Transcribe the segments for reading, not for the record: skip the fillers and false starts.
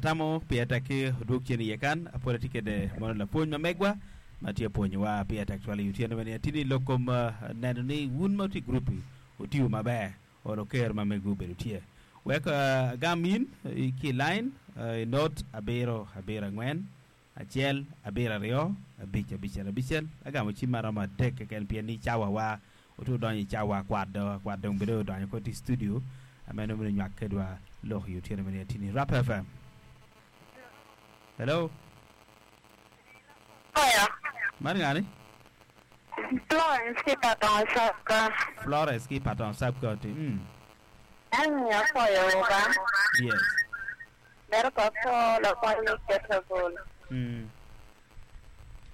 Atamo pire tek ki odwog cen iye kan, pwod atye kede mono lapwony ma megwa ma tye pwonyowa pire tek twal i otyeno meno. Atye ni lok kom neno ni wun ma wutye i gurup-pi wutiyo maber olo ker ma megwu obedo tye. Wek agam in ki i lain i not abiro abiro angwen acel abiro aryo abic abicel abicel. Agamo cim ma romo adek keken pien ni cawa wa otye odonyo i cawa akwat do akwat dong bedo odonyo koti i studio meno mito nywak kedwa lok i otyeno meno atye ni Rap FM. Hello. Man ngani? Florence ki Patong Sub-County. Florence ki Patong Sub-County. Mm. En miyo apwoyo ba. Yes. Mito pa pwo lapwony me Ketebul. Mm.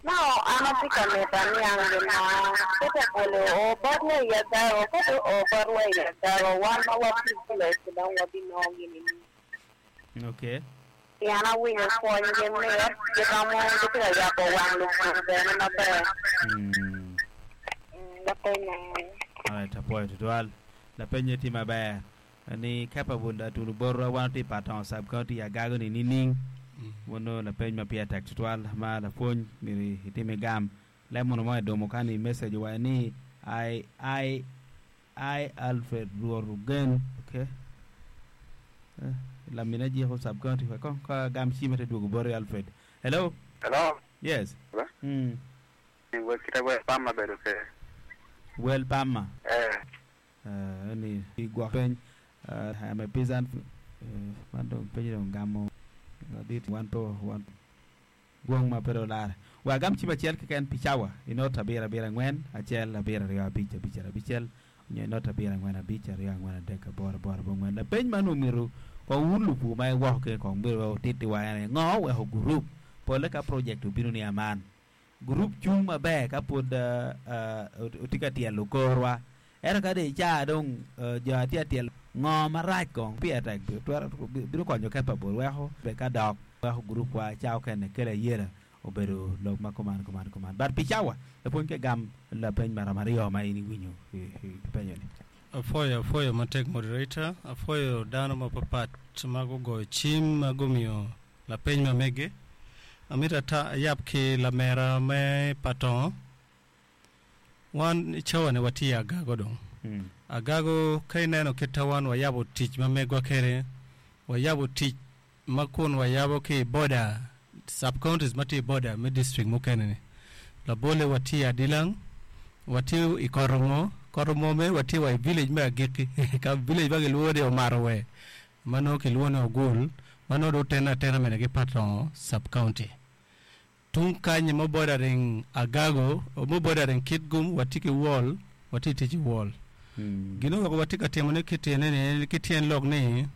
Now an atye ka mito aniang gin ma Ketebul oo botwa i Agago. Ka dong oo botwa i Agago, wan ma watye i village dong wabinongo gin nining? Okay. Pien awinyo pwonygi mit, giromo gitye ka yabo wang lupur bene maber. Mm. Lapeny eni. Alright, apwoyo tutwal. Lapenye tye maber ni capable atulo botwa wan watye i Patongo sub county i Agago ni nining? Mono lapeny ma pire tek tutwal ma lapwony myero itim igam. Lemon mo idumo kany i message owaco ni I I I Alfred Rwot Ogen ok lamine jiko sub county wek kong ka agam cim ate dwogo boti Alfred. Hello. Hello. Yes. Mm. Wel kite wel pamma bedo kede. Wel pamma. Eh. Eh, ni gwok peny. Uh, I am a peasant. Uh, man dong peny dong gamo ladit wan pe wan Gwong ma pe dong olare. Wek agam cim acel keken pi cawa i not abiro abiro angwen acel abiro aryo abic abicel abicel nyo i not abiro angwen abic aryo angwen adek aboro aboro abongwen. Lapeny man omyero kong wun lupur ma iwoko kene kong myero wek wutittiwa en aye ngo oweko gurup pole ka project obino ni aman gurup cung maber ka pwod otye ka tyelo korwa Ento ka dong icaa dong jo atye atyel ngo marac kong pire tek twero bino konyo capable weko be ka dok weko group wa ca okene kelo ayela obedo lok ma kuman kuman kuman but pi cawa lapwony ke gam lapeny maromo aryo ma in iwinyo ipenyo ni. Apwoyo apwoyo matek moderator, apwoyo dano mapapat ma gugoyo cim ma gumiyo lapeny ma mege. Amito ata ayab ki lamera me Patongo. Wan i cawa-ni watye i agago dong. Agago ka ineno kit ta wan wayabo tic ma megwa kwede, wayabo tic ma kun wayabo ki i boda, sub counties ma tye i boda me district mukene-ni. Labolle watye i Adilang, watye i Kotomo, Kotomo mere watye wa i village me agikki ka village ma kilwongo ni Omarowe ma nongo kilwongo ni Ogul ma nongo dong otene atena mene ki Patongo sub county. Tung kany ma bordering Agago, ma bordering Kitgum watye ki wall, watye tic i wall. Gin oweko watye ka timone ki tyene ni, ki tyen lok ni.